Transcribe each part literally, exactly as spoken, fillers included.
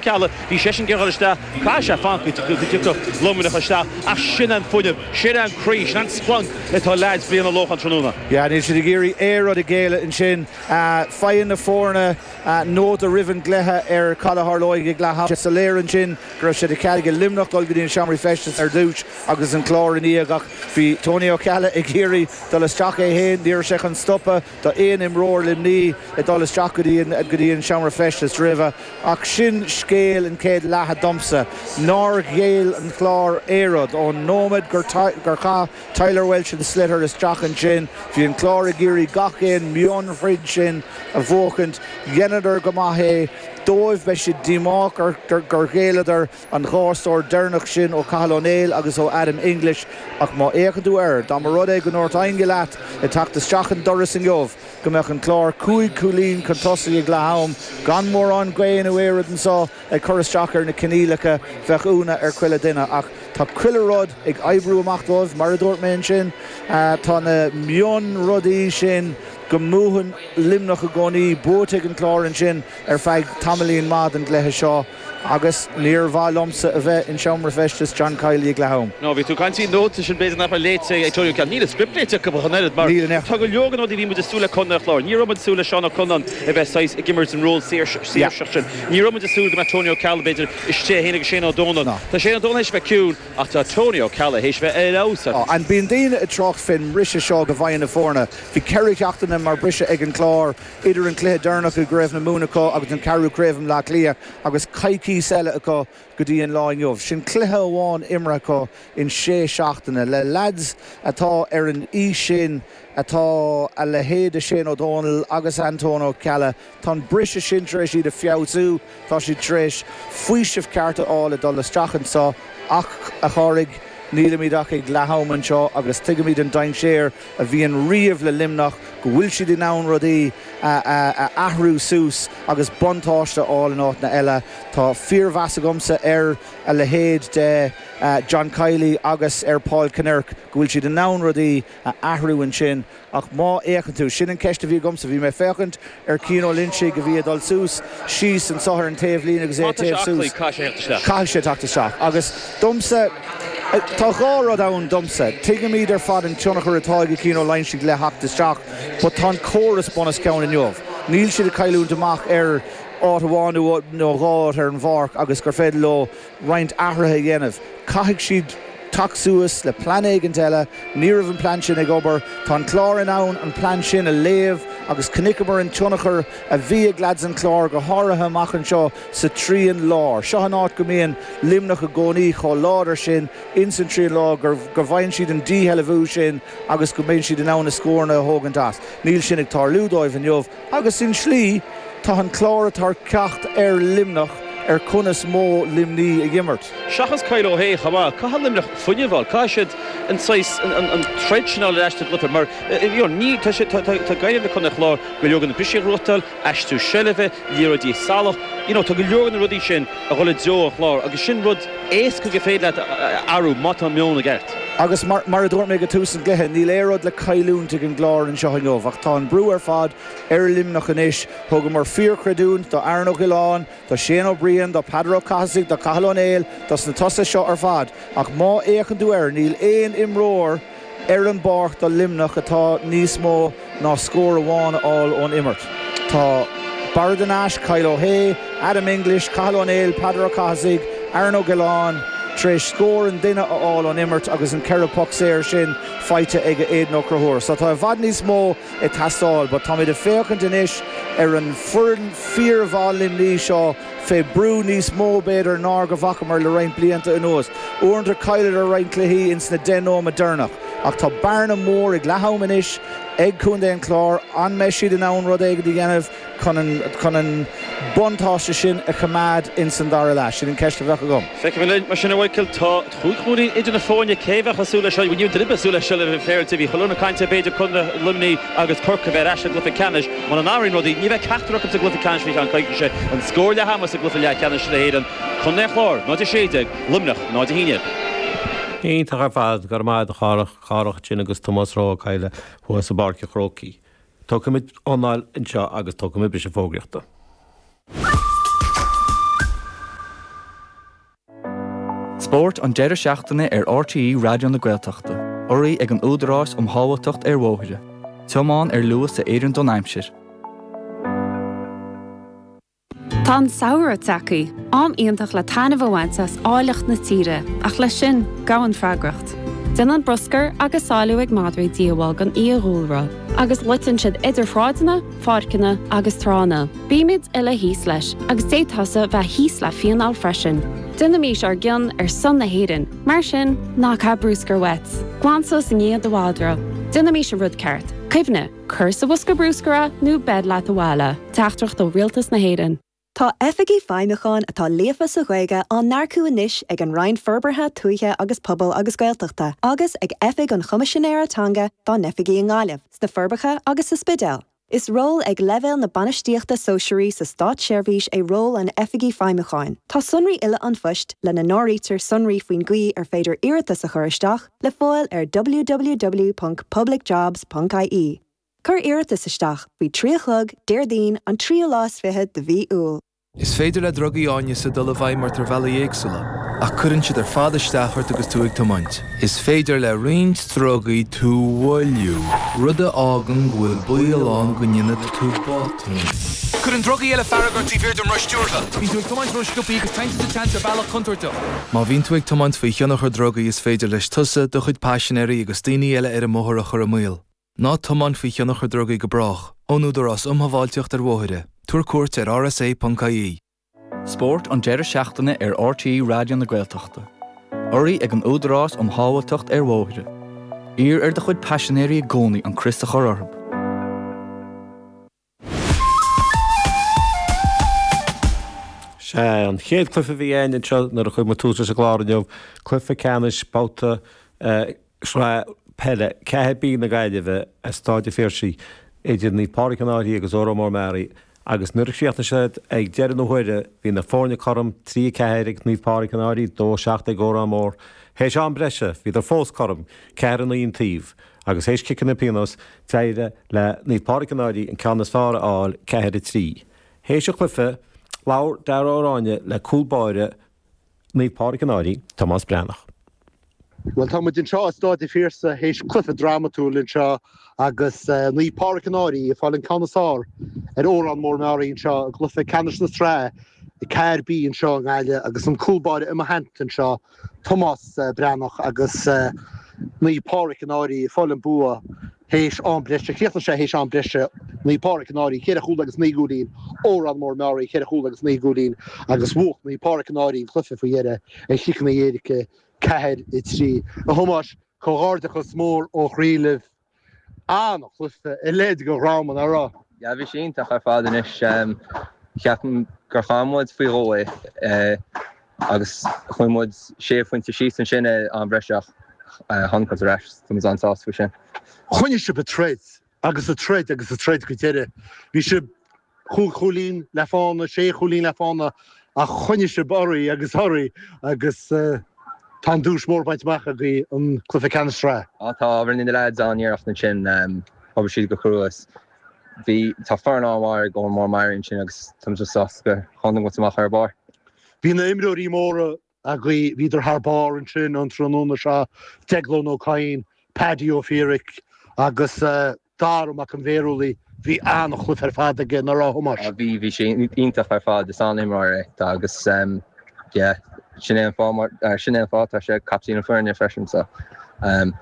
Ceallaigh, bhí seisean ag dul isteach, caithfidh sé fanacht go dtiocfadh Luimneach isteach ach sin an fuinneamh, sin an croí, sin an splanc atá leaids Bhrian Ó Lócháin tráthnóna. Yeah, níl siad ag iarraidh aon rud a ghéilleadh ansin. Faigheann na foirne nóta roimh an gcluiche ar cad a tharlóidh ag leath ama. Soiléir ansin go raibh sé de chead ag Luimneach dul go dtí an seomra feistis ar dtús agus an Clár ina dhiaidh ach bhí Tony Ó Ceallaigh ag iarraidh dul isteach é féin. Ní raibh sé chun stopadh d'aon imreoir Luimnigh ag dul isteach go dtí go dtí an seomra feistis roimhe. Ach sin scéal an chéad leatha domsa, nár ghéill an Clár aon rud ón nóiméad gur gur chaith Tyler Walsh an sliotar isteach ansin. Bhí an Clár ag iarraidh gach aon mhionthroid sin a bhuachaint. Dheineadar go maith é. Dóibh, beidh siad díomách gur gur ghéilleadar an dhá scór deireanach sin ó Cathal Ó Néill agus ó Adam English ach má fhéachann tú air, dá mba rud é go ndúirt éinne leat ag teacht isteach an doras inniu go mbeadh an Clár cúig chúilín chun tosaigh ag leath am, gan mórán gaoth nó aon rud anseo ag cur isteach ar na coinníollacha, bheadh ionadh ar chuile duine. Ach tá chuile rud ag oibriú amach dóibh, mar a dúirt mé ansin, tá na mionrudaí sin go mbuann Luimneach i gcónaí buaite ag an Clár ansin ar feadh tamaillín maith den gcluiche seo agus níor mhaith liomsa a bheith in seomra feistis John Kiely ag leath am. No, bhí tú ag caint faoin nóta sin b'fhéidir nach raibh léite ag Tony Ó Ceallaigh. Níl an script léite acu ach an oiread mar Níl in aon tá go leor de na rudaí a bhí muid ag súil le Contae an Chláir. Ní raibh muid ag súil le Seán Ó Conláin a bheith saghas ag imirt an ról saoirseach sin. Ní raibh muid ag súil go mbeadh Tony Ó Ceallaigh b'fhéidir istigh é féin agus Shane Ó Dónaill. No. Tá Shane Ó Dónaill théis a bheith ciúin ach tá Tony Ó Ceallaigh théis a bheith ar fheabhas. Oh, and bíonn daoine ag trácht fén mbriseadh seo go bhfaigheann na foirne. Bhí ceithre sheachtaine mar briseadh ag an Clár idir an cluiche deireanach i gCraobh na Mumhan acu agus an ceathrú craobh i mBleá Cliath agus coicís eile acu go dtí an lá inniu. Sin cluiche amháin imeartha acu in sé seachtaine le leaids atá ar an aois sin atá a leithéid de Shane Ó Dónaill agus Antóin Ó Ceallaigh. Tá an briseadh sin tar éis iad a feabhsú, tá siad tar éis faoiseamh ceart a fháil ag dul isteach anseo ach, a Chárthaigh, nílimid ach ag leath am anseo agus tuigimid an dainséar a bhíonn riamh le Luimneach, go bhfuil siad in ann rudaí a athrú suas agus buntáiste a fháil in áiteanna eile. Tá fíormheas agamsa ar a leithéid de John Kiely agus ar Paul Kinnerk go bhfuil siad in ann rudaí a athrú ansin ach má fhéachann tú, sin an ceist a bhí agamsa, bhí mé ag féachaint ar Cian Ó Loinsigh a bhí ag dul suas, síos anseo ar an taobhlíne agus é Má ag tá sé téamh aclaí, suas. caithfidh sé theacht isteach. Caithfidh sé teacht isteach agus domsa, tá dhá rud ann domsa, tuigimid ar fad an tionchar atá ag Cian Ó Loinsigh le theacht isteach but tá an córas bunoscionn inniu. Níl siad ag cailliúint amach ar áit amháin nó dhá áit ar an bpáirc agus gur féidir leo roinnt athruithe a dhéanamh. Caithfidh siad teacht suas le plean éigint eile. Ní raibh an plean sin ag obair. Tá an Clár in ann an plean sin a léamh agus chonaiceamar an tionchar a bhí ag leaids an Chláir, go háirithe amach anseo sa trian láir. Seo an áit go mbíonn Luimneach i gcónaí chomh láidir sin ins an trian láir go bhfaigheann siad an díshealbhú sin agus go mbíonn siad in ann na scóranna a thógaint as. Níl sin ag tarlú dóibh inniu agus in slí tá an Clár ag tabhairt ceacht ar Luimneach ar conas modh Luimní a dh'imirt. Seachas Kyle O'Hea chomh maith, caithfidh Luimneach fuinneamh a fháil, caithfidh siad an saghas, an troid sin a fháil ar ais sa gcluiche mar you know ní, tá sé, tá, tá Gaillimh le Contae an Chláir go leor de na brisí a ghnóthachtáil, aistriú seilbhe, liathróidí salach, you know tá go leor de na rudaí sin a dhul i dtreo an Chláir agus sin rud éasca go féidir leat a athrú má tá an meon i gceart. Agus mar, mar a dúirt mé go tús an gcluiche, níl aon rud le cailliúint ag an gClár anseo inniu ach tá an brú ar fad ar Luimneach anois. Thugamar fíorchreidiúint do Aaron Ó Giolláin, do Shane Ó Briain, do Peadar Ó Cathasaigh, do Cathal Ó Néill, dos na tosaithe seo ar fad. Ach má fhéachann tú air, níl aon imreoir ar an bpáirc do Luimneach atá níos mó ná scór amháin a fháil ón imirt. Tá Barra de Nash, Kyle O'Hea, Adam English, Cathal Ó Néill, Peadar Ó Cathasaigh, Aaron Ó Giolláin tar éis scór an duine a fháil ón imirt agus an ceithre poc saor sin faighte ag Aidan Ó Conchúir. So tá i bhfad níos mó ag teastáil but táimid ag féachaint anois ar an foireann fíormhaith Luimní seo fé brú níos mó b'fhéidir ná go bhfacamar le roinnt blianta anuas. Uaireanta cailleadar roinnt cluichí ins na deich nóiméad deireanach ach tá bearna mór ag leath am anois ag Contae an Chláir. An mbeidh siad in ann rud éigin a dhéanamh chun an chun an buntáiste sin a choimeád ins an dara leath? Sin an ceist a bheadh agam. Feicfimid linn mar sin a Mhichael. Tá chúig chúilín idir na foirne. Cé a bheadh ag súil leis seo? Ní raibh duine ag súil leis seo le bheith féaráilte. Bhí chuile dhuine ag caint ar b'fhéidir Contae Luimnigh agus Corcaigh a bheith ar ais sa gcluiche ceannais. Muna n-athraíonn rudaí, ní bheidh ceachtar acu sa gcluiche ceannais faoi cheann coicíse. An scór leath ama sa gcluiche leathcheannais na hÉireann, Contae an Chláir, náid a sé déag, Luimneach, náid a haon déag. Iontach ar fad, go raibh maith agat a Chárthach, Cárthach ansin agus Tomás Ó Cadhla thuas i bPáirc an Chrócaigh. Spórt an deireadh seachtaine ar RTÉ Raidió na Gaeltachta, urraithe ag an Údarás um Shábháilteacht ar Bhóithre. Tiomáin ar luas a oireann don aimsir. Tá an samhradh tagtha, am iontach le taitneamh a bhaint as áilleacht na tíre, ach leis sin gabhann freagracht. Déanann bruscar agus sáiliú ag madraí díobháil don fhiadhúlra, agus loiteann siad idir shráideanna, pháirceanna agus tránna. Bímid uile thíos leis, agus d'fhéadfá bheith thíos le fíneáil freisin. Déanaimis ár gcion ar son na hÉireann, mar sin ná caith bruscar uait. Glan suas i ndiaidh do mhadra. Déanaimis an rud ceart. Cuimhnigh, cuir sa bhosca bruscair é nó beir leat abhaile. Teachtaireacht ó Rialtas na hÉireann. Tá oifigigh feidhmiúcháin atá líofa sa Ghaeilge á n-earcú anois ag an Roinn Forbartha Tuaithe agus Pobail agus Gaeltachta agus ag Oifig an Choimisinéara Teanga dá n-oifigí i nGaillimh, sna Forbacha agus sa Spidéal. Is ról ag leibhéal na bainistíochta sóisearaí sa státseirbhís é ról an oifigigh feidhmiúcháin. Tá sonraí uile an phoist lena n-áirítear sonraí faoin gcaoi ar féidir iarratas a chur isteach le fáil ar www.publicjobs.ie. Cuir iarratas isteach faoi trí a chlog Déardaoin an tríú lá is fiche de mhí Iúil. Is féidir le drugaí áineasa dul i bhfeidhm ort ar bhealaí éagsúla, ach cuireann siad ar fad isteach ort agus tú ag tiomáint. Is féidir le roinnt drugaí tú a mhoilliú, rud a fhágann go bhfuil baol ann go ndéanfaidh tú botún. Cuireann drugaí eile fearg ort taobh thiar den roth stiúrtha. Bíonn tú ag tiomáint ró-sciobtha agus téann tú sa tseans ar bhealach contúirteach. Má bhíonn tú ag tiomáint faoi thionchar drugaí is féidir leis tusa, do chuid paisinéirí agus daoine eile ar an mbóthar a chur i mbaol. Ná tiomáin faoi thionchar drugaí go brách, ón Údarás um Shábháilteacht ar Bhóithre. Tabhair cuairt ar rsa.ie. Spórt an deireadh seachtaine ar RTÉ Raidió na Gaeltachta. Urraithe ag an Údarás um Shábháilteacht ar Bhóithre. Iarr ar do chuid paisinéirí i gcónaí an crios a chur orthu. Sé an chéad cluiche a bhí ann anseo nuair a chuir muid tús leis an gclár inniu, cluiche ceannais babhta sraith peile ceathair B na Gaillimhe i Staid an Phiarsaigh idir Naomh Pádraig an Fhairche agus Órán Mór Meáraí agus nuair a chríochnaigh siad ag deireadh na huaire bhí na foirne cothrom trí a ceathair ag Naomh Pádraig an Fhairche, dó a seacht ag Órán Mór. Théis am breise bhíodar fós cothrom, ceathair a naoi an taobh agus théis ciceanna pionóis d'éirigh le Naomh Pádraig an Fhairche an ceann is fearr a fháil ceathair a trí. Théis an chluiche labhair Dara Ó Ráinne le cúl báire Naomh Pádraig an Fhairche, Tomás Breathnach. Bhuel tá muid anseo i Staid an Phiarsaigh théis cluiche drámatúil anseo agus Naomh Pádraig an Fhairche ag fáil an ceann is fearr ar Órán Mór Meáraí anseo i gcluiche ceannais na sraithe ceathair B anseo i nGaillimh agus an cúl báire i mo theannta anseo Tomás Breathnach agus Naomh Pádraig an Fhairche ag fáil an bua théis am breise. Chríochnaigh sé théis am breise Naomh Pádraig an Fhairche ceithre chúl agus naoi gcúilín, Órán Mór Meáraí ceithre chúl agus naoi gcúilín agus bhuaigh Naomh Pádraig an Fhairche an cluiche faoi dheireadh ar chiceanna éirice ceathair a trí. A Thomáis, comhghairdeachas mór ó chroí libh. An-chluiche a leithéid de dhráma, nach raibh? Yeah, bhí sé iontach ar fad anois. Ceapaim gur chaill muid faoi dhó é agus chuaigh muid sé phointe síos ansin i am breise ach tháinig muid ar ais. Tá muid an-sásta faoi sin. Choinnigh sibh ag troid agus ag troid agus ag troid go deireadh. Bhí sibh chúig chúilín le fána, sé chúilín le fána ach choinnigh sibh oraibh agus oraibh agus tá an duais mór bainte amach agaibh an cluiche ceannais sraithe. Á tá, rinne na leaids an-iarracht ansin, obair siad go crua. Bhí, tá foireann an-mhaith ag Órán Mór Meáraí ansin agus tá muid sásta gur tháinig muid amach ar barr. Bhí na imreoirí móra agaibh, bhíodar thar barr ansin an tráthnóna seo, Deaglán Ó Cadhain, Paddy Ó Fiaraic agus Dara Mac an Bhéarúlaigh, bhí an-chluiche ar fad aige, nach raibh, a Thomáis? Bhí, bhí sé iontach ar fad, is an-imreoir é agus yeah, sin é an fáth mar, sin é an fáth tá sé captaen na foirne freisin so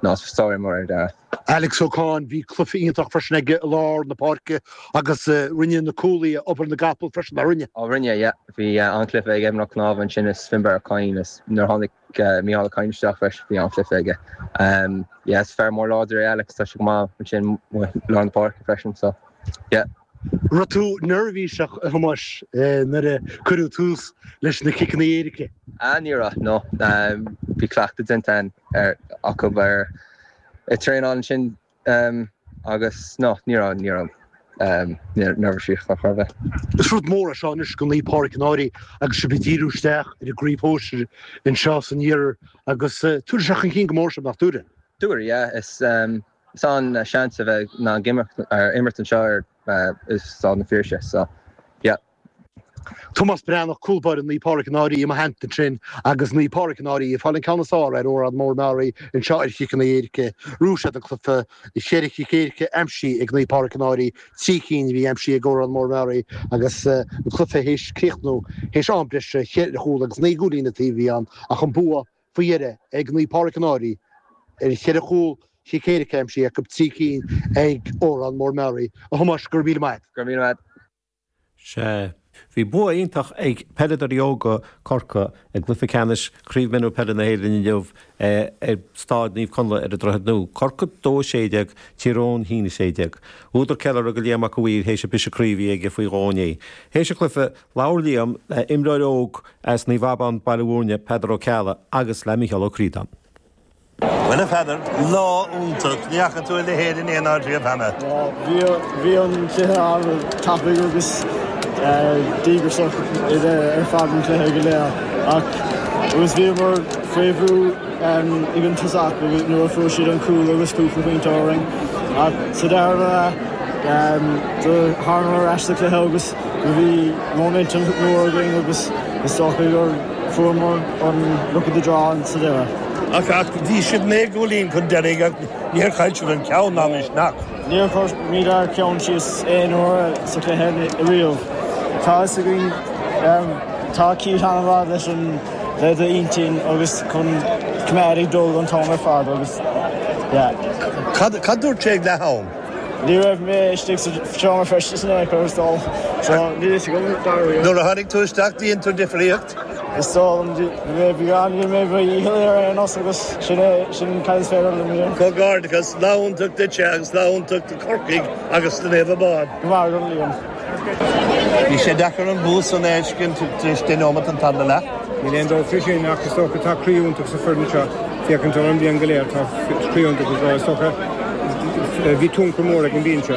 no, is sár-imreoir é Dara. Alex Ó Cadhain, bhí cluiche iontach freisin aige i lár na páirce agus rinne na cúlaithe obair na gcapall freisin, nár rinne? Ó rinne, yeah. Bhí an-chluiche ag Evan Ó Cnámha ansin is Finbarr Ó Cadhain is nuair a tháinig Mícheál Ó Cadhain isteach freisin bhí an-chluiche aige. Yeah, is fear mór láidir é Alex, tá sé go maith ansin i lár na páirce freisin so yeah. Raibh tú neirbhíseach, a Thomáis, nuair a cuireadh tús leis na ciceanna éirice? Ah, ní raibh, no. Bhí cleachtadh déanta ar acu ar ag traenáil ansin agus no, ní raibh, ní raibh neirbhíseach ar chor ar bith. Is rud mór é seo anois do Naomh Pádraig an Fhairche agus sibh ag díriú isteach ar an gcraobh shóisir anseo san iarthar agus tabharfaidh sé chun cinn go mór sibh, nach dtabharfaidh? Tabharfaidh, yeah. Is is an-seans a bheith in ann imirt anseo ar i Staid an Phiarsaigh so yeah. Tomás Breathnach cúl báire Naomh Pádraig an Fhairche i mo theannta ansin agus Naomh Pádraig an Fhairche ag fáil an ceann is fearr ar Órán Mór Meáraí anseo ar chiceanna éirice. Bhuaigh siad an cluiche, cheithre chic éirice aimsithe ag Naomh Pádraig an Fhairche, trí cinn a bhí aimsithe ag Órán Mór Meáraí agus an cluiche théis críochnú théis am breise cheithre chúl agus naoi gcúilín an taobh a bhí ann ach an bua faoi dheireadh ag Naomh Pádraig an Fhairche ar cheithre chúl chic éirice aimsithe acu, trí cinn ag Órán Mór Meáraí. A Thomáis, go raibh míle maith. Go raibh míle maith. Sea, bhí bua iontach ag peileadóirí óga Chorcaí i gcluiche ceannais Chraobh Mionúr Peile na hÉireann inniu ar Staid Naomh Conlaith ar an Droichead Nua. Corcaigh dó a sé déag, Tír Eoghain a haon a sé déag. Údar ceiliúrtha do Liam Mac a' Mhaoir théis an briseadh croí a bhí aige faoi dhó inné. Théis an chluiche, labhair Liam le imreoir óg as Naomh Abán, Baile Bhúirne, Peadar Ó Ceallaigh agus le Micheál Ó Críodáin. Bhuel a Pheadair, lá iontach, ní fhaca tú a leithéid in aon áit riamh cheana. Bhí bhí an cluiche an-tapaidh agus díograiseach ar fad an cluiche go léir ach agus bhíomar faoi bhrú ag an tosach nuair a fuair siad an cúl agus cúpla pointe orainn ach sa dara leath do thángamar ar ais sa chluiche agus bhí momentum mór againn agus is dócha gur fuaireamar an luck of the draw sa deireadh. Ach ach bhí sibh naoi gcúilín chun deiridh ach níor chaill sibh an ceann ná misneach. Níor chuir muid ár gceann síos aon uair sa chluiche riamh. Tá fhios againn tá Keith an-mhaith leis an le d'intinn agus chun coimeád ag dul an t-am ar fad agus yeah. Cad cad dúirt sé ag leath am? Ní raibh mé istigh sa seomra feistis in aon chor is dóigh so níl fhios agam dáiríre. Nuair a tháinig tú isteach dhein tú difríocht? Is dóigh liom bhí rinne mé mo dhícheall ar aon nós agus sin é sin cad is féidir liom a dhéanamh. Comhghairdeachas, lá iontach duitse agus lá iontach do Chorcaigh agus do Naomh Abán. Go maith agat Liam. Bhí sé deacair an bua san a fheiscint tar éis deich nóiméad an tarna leath. Níl aon dabht faoi sin ach is dócha tá croí iontach sa foireann seo féachaint ar an mbliain go léir tá croí iontach is dócha bhí tionchar mór ag an mbinse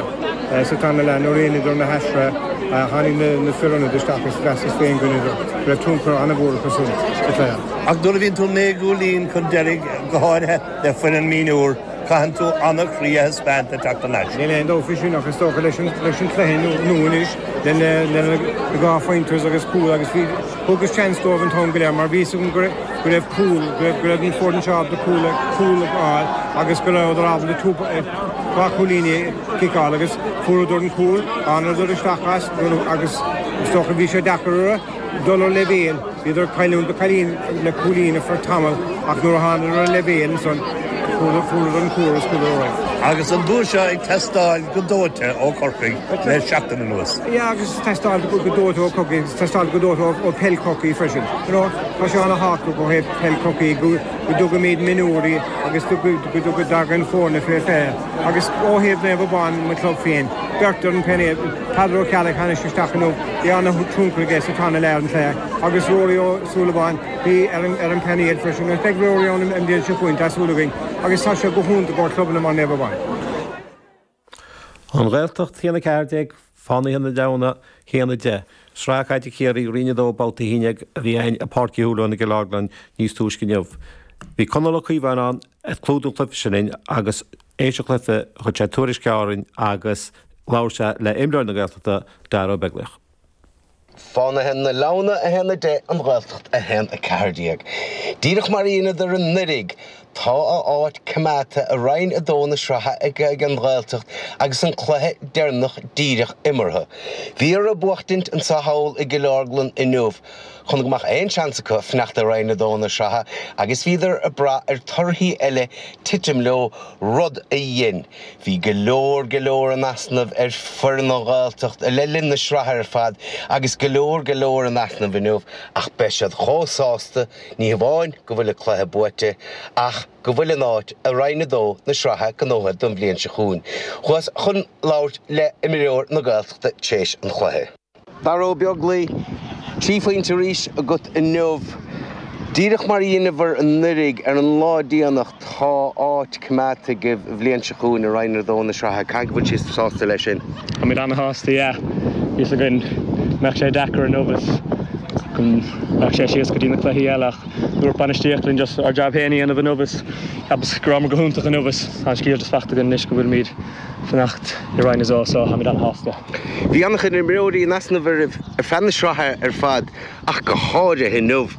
sa tarna leath nuair a rinneadar na hathruithe tháinig na fir ionaid isteach is mheasas féin go raibh tionchar an-mhór acu sin sa chluiche. Ach nuair a bhíonn tú naoi gcúilín chun deiridh go háirithe le foireann mionúr, caitheann tú an-chroí a thaispeáint le teacht thar n-ais. Níl aon dabht faoi sin ach is dócha leis an chluiche nua anois le dhá phointe agus cúl agus bhí thugas seans dóibh an t-am go léir mar bhí fhios agam go raibh cúl, go raibh an foireann seo ábalta cúl cúl a fháil agus go rabhadar ábalta dhá chúilíní a chiceáil agus fuaireadar an cúl, thángadar isteach as agus is dócha bhí sé deacair orthu dul ar leibhéal, bhíodar ag cailliúint do cailín le cúilín ar feadh tamaill ach nuair a thángadar ar leibhéal ansan fuaireadar an cúl agus chuadar ar aghaidh. Agus an bua seo ag teastáil go dóite ó Chorcaigh le seachtain anuas. Yeah agus ag teastáil go dóite ó Chorcaigh agus ag teastáil go dóite ó peil Chorcaí freisin. You know, tá sé an-thábhachtach ó thaobh peil Chorcaí go dtugaimid mionúirí agus go dtagann foirne fé fiche. Agus ó thaobh Naomh Abán, mo chlub féin, beirt ar an bpainéal, Peadar Ó Ceallaigh tháinig isteach inniu, bhí an-tionchar aige sa tarna leath ar an chluiche agus Rory Ó Súilleabháin, bhí ar an ar an bpainéal freisin agus beidh Rory ann an bhliain seo chugainn, tá súil againn, agus tá sé go hiontach ó chlubanna mar Naomh Abán. An Ghaeltacht a haon a ceathair déag, Fánaithe na Leamhna a haon a deich. Sraith Caide Chiarraí, Roinn a dó, Babhta a haon déag a bhí ann i Páirc Uí Shúilleabháin i gCill Orglan níos túisce inniu. Bhí Conall Ó Caomháin ann ag clúdú an chluiche sin linn agus éis an chluiche chuir sé tuairisc orainn agus labhair sé le imreoir na Gaeltachta, Dara Ó Beaglaoich. Fánaithe na Leamhna a haon a deich, An Ghaeltacht a haon a ceathair déag. Díreach mar a dheineadar anuraidh, tá a áit coimeádta i Roinn a dó na sraithe ag an Ghaeltacht agus an cluiche deireanach díreach imeartha. Bhí orthu buachtaint anso thall i gCill Orglan inniu chun go mbeadh aon seans acu fanacht i Roinn a dó na sraithe agus bhíodar ag brath ar torthaí eile titim leo, rud a dhein. Bhí go leor, go leor in easnamh ar foireann an Ghaeltacht le linn na sraithe ar fad agus go leor, go leor in easnamh inniu ach beidh siad chomh sásta, ní hamháin go bhfuil an cluiche buaite ach go bhfuil a n-áit i Roinn a dó na sraithe gnóthaithe don bhliain seo chugainn. Chuas chun labhairt le imreoir na Gaeltachta tar éis an chluiche. Dara Ó Beaglaoich, trí phointe arís agat inniu. Díreach mar a dheineabhair anuraidh ar an lá déanach tá áit coimeádta agaibh an bhliain seo chugainn i Roinn a dó na sraithe. Caithfidh go bhfuil sibh sásta leis sin? Táimid an-shásta, yeah. Bhí fhios againn go mbeadh sé deacair inniu is go mbeadh sé síos go dtí na cluichí eile ach dúirt bainistíocht linn just ár jab féin a dhéanamh inniu is ceapas go rabhamar go hiontach inniu is an scéal just fachta againn anois go bhfuilimid fanacht i Roinn a dó so táimid an-shásta. Bhí an-chuid imreoirí in easnamh oraibh ar feadh na sraithe ar fad ach go háirithe inniu.